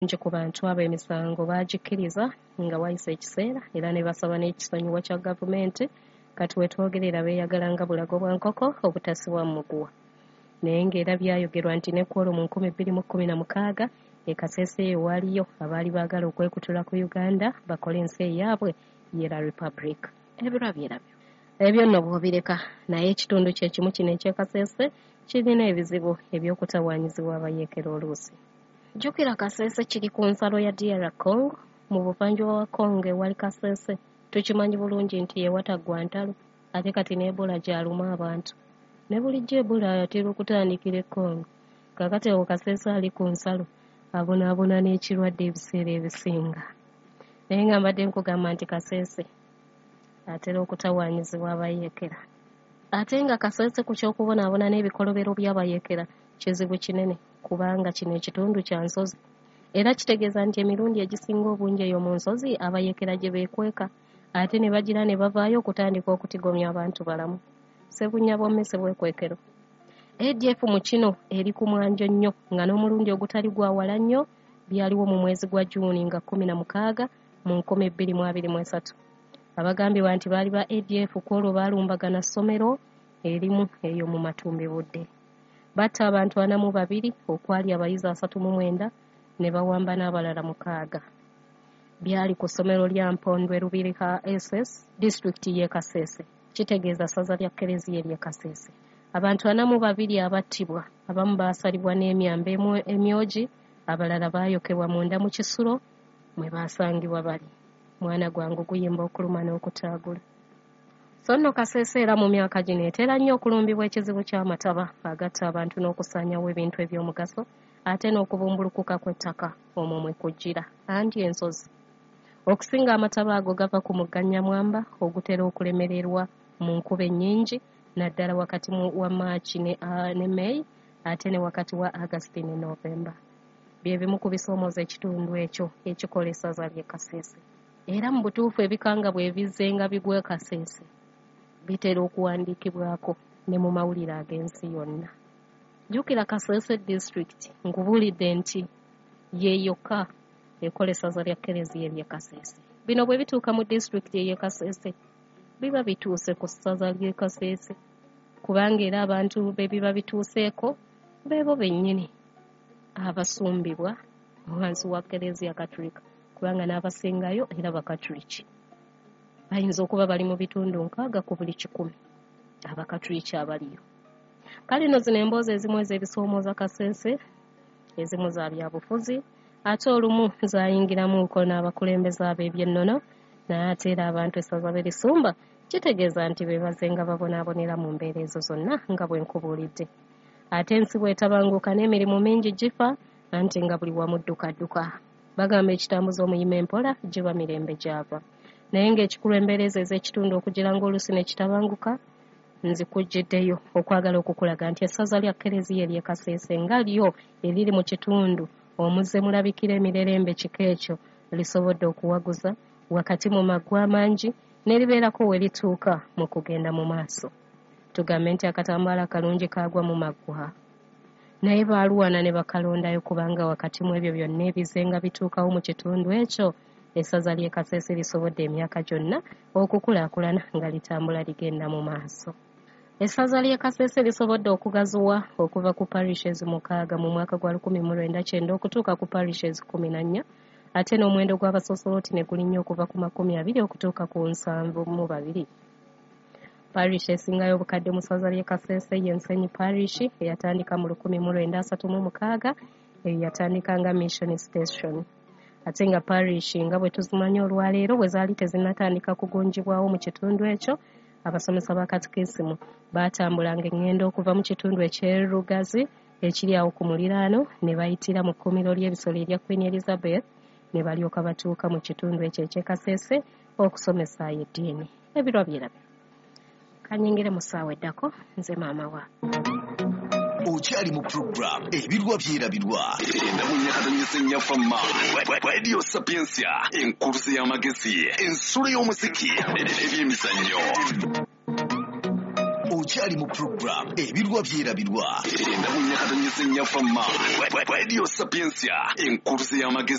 Bangi ku bantu abo emisango baagikkiriza nga wayise ekiseera era ne basaba n'ekisonyiwo kya gavumenti. Kati we twogerera beeyagala nga bulago bwa nkoko obutasibwa mu muguwa. Naye ng'era byayogerwa nti ne ku olwo mu 2016 e Kasese eyo waaliyo abaali baagala okwekutula ku Uganda bakole ensi eyaabwe ye La Republic. Ebirwa byerabyo. Ebyo nno bw'obireka, naye ekitundu kye kimu kino eky'e Kasese kirina ebizibu eby'okutawaanyizibwa abayeekera oluusi. Jjukira Kasese kiri ku nsalo ya DR Congo, mu buvanjuba wa Congo ewali Kasese tukimanyi bulungi nti ye wataggwa ntalo ate kati ne Ebola gy'aluma abantu. Ne bulijjo Ebola atera okutandikira e Congo. Kaakati awo Kasese ali ku nsalo abonaabona n'ekirwadde ebiseera ebisinga. Naye nga mbadde nkugamba nti Kasese atera okutawaanyizibwa abayeekera. Ate nga Kasese ku ky'okubonaabona n'ebikolobero by'abayeekera kizibu kinene kubanga kino ekitundu kya nsozi. Era kitegeeza nti emirundi egisinga obungi eyo mu nsozi abayeekera gye beekweka ate ne bagira ne bavaayo okutandika okutigomya abantu balamu. Ssebunya bw'emmese bwekwekero. ADF mu kino eri ku mwanjo nnyo nga n'omulundi ogutali gwa wala nnyo byaliwo mu mwezi gwa June nga 16 mu 2023. Abagambibwa nti baali ba ADF ku olwo baalumbagana ssomero erimu eyo mu matumbibudde. Batta abantu 42 okwali abayizi 39 ne bawamba n'abalala 6. Byali ku ssomero lya Mpondwe Lubirika SS disitulikiti y'e Kasese. Kitegeeza ssaza lya Kkereziya ery'e Kasese. Abantu 42 abattibwa, abamu baasalibwa n'emyambe emyogi, abalala baayokebwa munda mu kisulo mwe baasangibwa bali. Mwana gwange guyimba okuluma n'okutaagula. So nno Kasese era mu myaka gino etera nnyo okulumbibwa ekizibu ky'amataba agatta abantu n'okusaanyawo ebintu eby'omugaso ate n'okubumbulukuka kw'ettaka omwo mwe kujjira anti ensozi. Okusinga amataba ago gava ku mugga Nyamwamba ogutera okulemererwa mu nkuba ennyingi naddala wakati wa Maaki ne May ate ne wakati wa August ne November. Bye bimu ku bisoomooza ekitundu ekyo ekikola essaza ly'e Kasese. Era mu butuufu ebikanga bwe bizzenga bigwa e Kasese bitera okuwandiikibwako ne mu mawulire ag'ensi yonna. Jjukira Kasese disitulikiti nkubuulidde nti ye yokka ekola essaza lya Kkereziya ery'e Kasese. Bino bwe bituuka mu disitulikiti ey'e Kasese biba bituuse ku ssaza ly'e Kasese kubanga era abantu be biba bituuseeko beebo bennyini abasumbibwa wansi wa Kkereziya Katulika kubanga n'abasingayo era Bakatuliki. Bayinza okuba bali mu bitundu 6 ku buli 100 Abakatuliki abaliyo. Kale nno zino emboozi ezimu ez'ebisoomooza Kasese, ezimu za byabufuzi, ate olumu zaayingiramuko n'abakulembeze ab'ebyennono, naye ate era abantu essaza be lisumba kitegeeza nti be bazenga babonaabonera mu mbeera ezo zonna nga bwe nkubuulidde. Ate ensi bw'etabanguka n'emirimu mingi gifa anti nga buli wamu ddukadduka. Bagamba ekitambuza omuyima empola giba mirembe gy'ava. Naye ng'ekikulu embeera ezo ez'ekitundu okugira ng'oluusi ne kitabanguka, nzikujjiddeyo okwagala okukulaga nti essaza lya Kkereziya ery'e Kasese nga lyo eriri mu kitundu omuzze mulabikira emirerembe kika ekyo lisobodde okuwaguza wakati mu maggwa amangi ne libeerako we lituuka mu kugenda mu maaso. Tugambe nti akatambaala akalungi kaagwa mu maggwa. Naye baaluwana ne bakalondayo kubanga wakati mu ebyo byonna ebizenga bituukawo mu kitundu ekyo essaza ly'e Kasese lisobodde emyaka gyonna okukulaakulana nga litambula ligenda mu maaso. Essaza ly'e Kasese lisobodde okugaziwa okuva ku parishes 6 mu mwaka gwa 1990 okutuuka ku parishes 14 ate n'omuwendo gw'abasosoloti ne gulinnya okuva ku 20 okutuuka ku 72. Parish esingayo obukadde mu ssaza ly'e Kasese ye Nsenyi Parish eyatandika mu 1936 eyo yatandika nga Mission Station. Ate nga parish nga bwe tuzimanyi olwaleero bwe zaali tezinnatandika kugunjibwawo mu kitundu ekyo, abasomesa ba katikisimu baatambulanga eŋŋendo okuva mu kitundu eky'e Rugazi ekiri awo ku muliraano ne bayitira mu kkuumiro ly'ebisolo erya Queen Elizabeth ne balyoka batuuka mu kitundu ekyo eky'e Kasese okusomesaayo eddiini. Ebirwa byerabyo. Kanyingire mu ssaawa eddako nze maama wa. Okyali mu program Ebirwa Byerabirwa endamu nyakatonyesa ennyafama Radio Sapiensia enkuluze y'amagezi ensulo y'omuziki ebyemizannyo. Okyali mu program Ebirwa Byerabirwa. Enda mu nyakatonyesa ennyafamma. Radio Sapiensia, enkuluze y'amagezi.